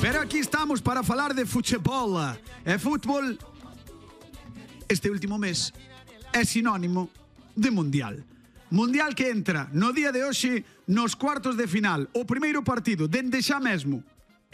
Pero aquí estamos para falar de fútbol. E fútbol este último mes é sinónimo de mundial. Mundial que entra no día de hoxe nos cuartos de final. O primeiro partido dende xa mesmo.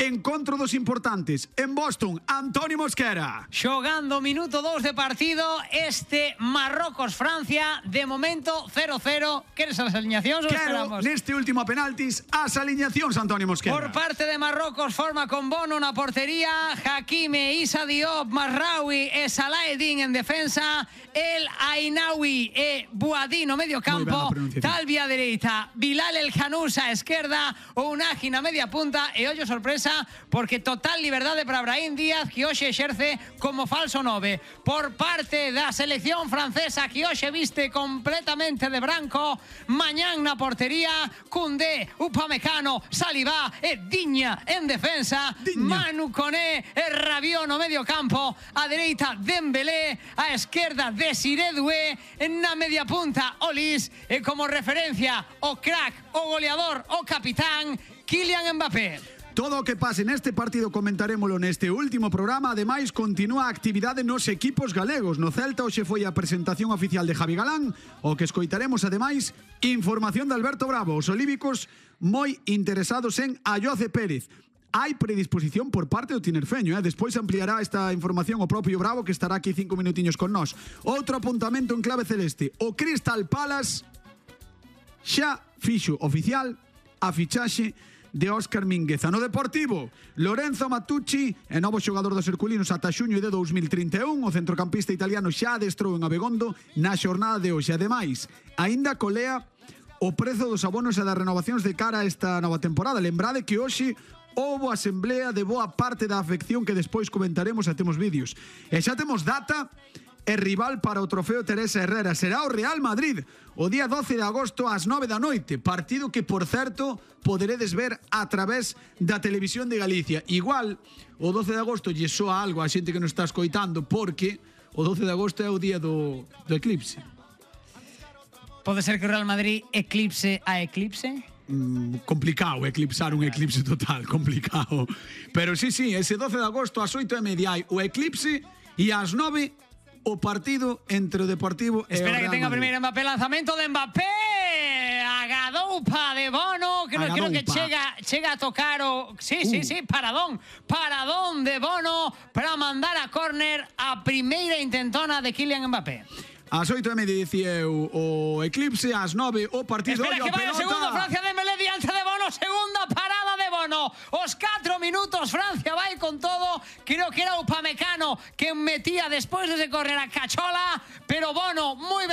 Encontro dos importantes en Boston, Antonio Mosquera. Xogando minuto 2 de partido este Marrocos-Francia, de momento 0-0. Queres as aliñacións ou esperamos? Neste último a penaltis, as aliñacións, Antonio Mosquera. Por parte de Marrocos forma con Bono na portería, Hakimi, Issa Diop, Mazraoui e Salaedin en defensa, El Ainaoui e Bouhaddi no medio campo, Talbi a dereita, Bilal El Khanous a esquerda, Ounahi na media punta e ollo sorpresa porque total liberdade para Brahim Díaz que hoxe exerce como falso 9. Por parte da selección francesa que hoxe viste completamente de branco, mañán na portería, Koundé, Upamecano, Saliba e Diña en defensa, Manu Koné e Rabiot no medio campo, a dereita Dembélé, a esquerda Desiré Doué, na media punta Olis e como referencia o crack, o goleador, o capitán Kylian Mbappé. Todo o que pase neste partido comentarémolo neste último programa. Ademais, continúa a actividade nos equipos galegos. No Celta hoxe foi a presentación oficial de Javi Galán, o que escoitaremos ademais información de Alberto Bravo. Os olíbicos moi interesados en Ayoce Pérez. Hai predisposición por parte do tinerfeño, Despois ampliará esta información o propio Bravo, que estará aquí 5 minutiños con nós. Outro apuntamento en clave celeste. O Crystal Palace xa fixo oficial a fichaxe de Óscar Mingueza. No Deportivo, Lorenzo Matucci é novo xogador dos herculinos ata xuño de 2031. O centrocampista italiano xa adestrou en Abegondo na xornada de hoxe. Ademais, aínda colea o prezo dos abonos e das renovacións de cara a esta nova temporada. Lembrade que hoxe houbo asemblea de boa parte da afección que despois comentaremos e temos vídeos. E xa temos data e rival para o trofeo Teresa Herrera. Será o Real Madrid o día 12 de agosto ás 9 da noite. Partido que, por certo, poderedes ver a través da Televisión de Galicia. Igual, o 12 de agosto lle soa algo a xente que nos está escoitando, porque o 12 de agosto é o día do eclipse. Pode ser que o Real Madrid eclipse a eclipse? Complicado eclipsar un eclipse total, complicado. Pero sí, ese 12 de agosto ás 8:30 hai o eclipse e ás 9 o partido entre o Deportivo e o Real Madrid. Espera que tenga primeiro Mbappé, lanzamento de Mbappé, a Gadoupa de Bono, que creo que chega a tocar o... Sí, paradón de Bono para mandar a córner a primeira intentona de Kylian Mbappé. Ás 8:30 dicía o eclipse, ás 9 o partido. Espera que vai o segundo, Francia Dembélé diante de Bono, segunda parada de Bono. Os 4 minutos, Francia vai con todo. Creo que era Upamecano que metía despois de ese córner a cachola, pero Bono moi ben.